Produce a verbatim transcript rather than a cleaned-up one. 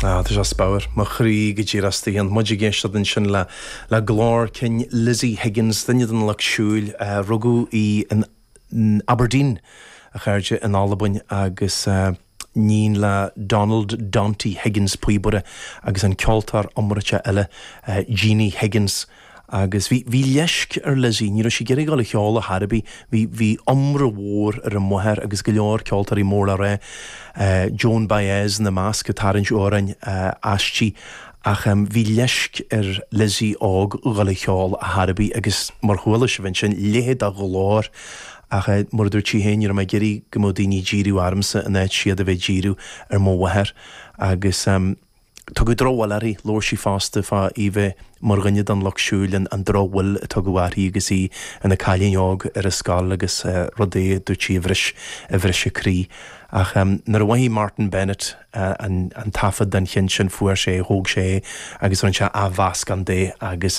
Ah, tá sé spiormhar mo chroí go díreach istigh ann. Muid ag éisteacht ansin le le glór cinn Lizzie Higgins duine den lucht siúil uh, rugadh í in, in Aberdeen a chairde in Albain agus uh, iníon le Donald Dante Higgins píobaire agus an ceoltóir iomráiteach eile uh, Jeannie Higgins. agus bhí bhí leisc ar Lizzie, ní raibh sí ag iarraidh dul a cheol ar chor ar bith, bhí bhí iomrá mhór ar a máthair agus go leor ceoltóirí mór le rá uh, Joan Baez ina measc ag tarraingt amhráin uh, aisti ach um, bhí leisc ar Lizzie óg dul a cheol ar chor ar bith agus mar chuala sibh ansin leithéid de ghlór ach uh, mar dúirt sí féin ar mé géirí go mó daoine díriú ormsa in áit siad a bheith díriú ar mo mháthair agus um, Tugadh drochbhail uirthi labhair sí fosta fá í bheith mar dhuine den lucht siúil an an drochbhail a tugadh uirthi agus í ina cailín óg ar a scoil agus uh, rudaí dúirt sí a bhris a bhris a croí. Ach um, nuair a mhothaigh Martin Bennett uh, an, an taifead den cheann sin fuair sé thóg sé agus rinne sé athmheascán de agus